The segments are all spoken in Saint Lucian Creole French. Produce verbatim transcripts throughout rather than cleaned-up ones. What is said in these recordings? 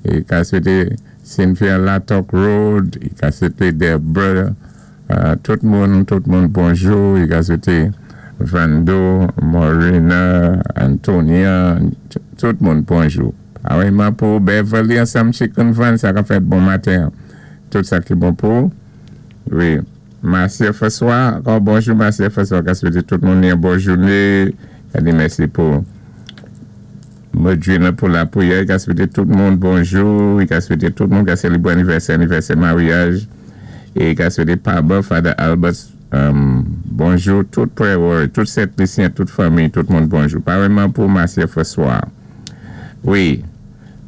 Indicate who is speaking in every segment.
Speaker 1: I ka swété Cynthia Latok Road, i ka swété Deborah, euh, tout moun, tout moun bonjou, i ka swété Vando, Morena, Antonia, tout moun bonjou. Awèyman pou Beverly ansanm Chicken Van, sa ka fèt bon maten. Tout sa ki bon pou. Wi. Marcia François, ankò bonjou Marcia François, ka swété tout moun yon bon jouné. Ka di mèsi pou Modjina pou lapriyè, ka swété tout moun bonjou, i ka swété tout moun ka sélébwé anivèsè, anivèsè maryaj, é ka swété Paba, Father Albert, um, bonjou, tout prayer warrior, tout Sent Lisyen, tout fanmi, tout moun bonjou. Parèyman pou Marcia François. Wi.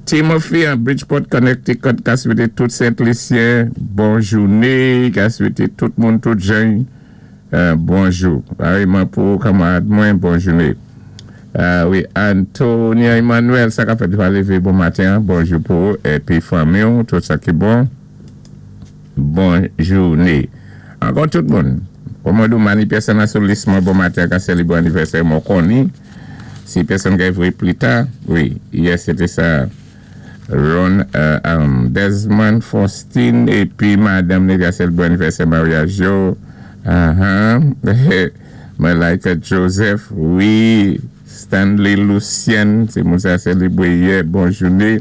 Speaker 1: Timothy an Bridgeport, Connecticut, ka swété tout Sent Lisyen, bon jouné, ka swété tout moun, tout jan, euh, bonjou. Parèyman pou kanmarad mwen, bon jouné. Euh, wi, Antonia Emmanuel, sa ka fèt va lévé bon maten, bonjou pou, épi fanmi, tout sa ki bon. Bon jouné. Ankò tout moun. Kòman dou mani pèsonn sou lis mwen bon maten ka sélébwé anivèsè mwen konni. Si pèsonn ka évri pli ta, wi, yè sété sa. Ron euh, um, Desmond Faustin épi madanm ni ka sélébwé anivèsè maryaj yo. Uh-huh. Malika Joseph, wi. Stanley Lucien, sé moun sa sélébwé yè, bon jouné.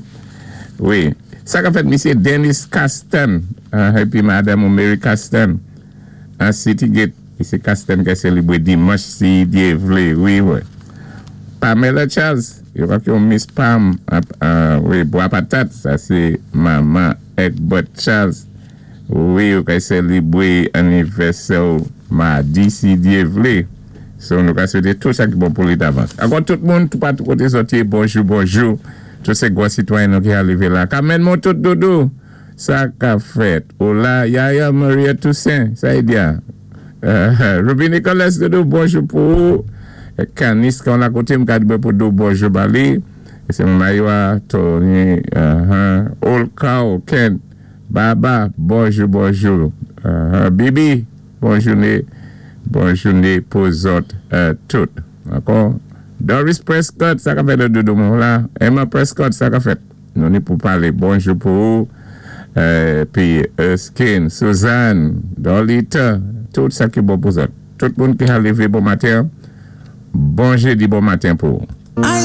Speaker 1: Wi. Sa ka fèt misyé Dennis Castan, uh, épi madanm Mary Castan, an City Gate. Misyé Castan ka sélébwé dimanch si Dye vlé, wi, wi. Pamela Charles, yo ka yon Miss Pam, uh, wi, Bois Patate, sa sé manman Egbert Charles. Wi, yo ka sélébwé anivèsè madi si Dye vlé. So nou ka swété tout sa ki bon pou li davans. Ankò tout moun, tout patou koté zòt yé, bonjou, bonjou. Tout sé gwo sitwayen nou ki arivé la. Kamen moun tout doudou. Sa ka fèt. Ola, Yaya Maria Toussaint, sa y diya. Uh, Ruby Nicolas doudou, bonjou pou ou. Kanis kan la koté m ka di pou dou bonjou bali. Se Maywa, Tony, uh-huh. Olka, Ken, Baba, bonjou, bonjou. Uh-huh. Bibi, bon jouné. Bon jouné pou zòt euh, tout. Ankò? Doris Prescott, sa ka fèt doudou moun la. Emma Prescott, sa ka fèt. Nou ni pou palé bonjou pou ou. Euh, pi Erskine, Suzanne, Dolita, tout sa ki bon pou zòt. Tout moun ki a lévé bon maten. Bon jédi, bon maten pou ou.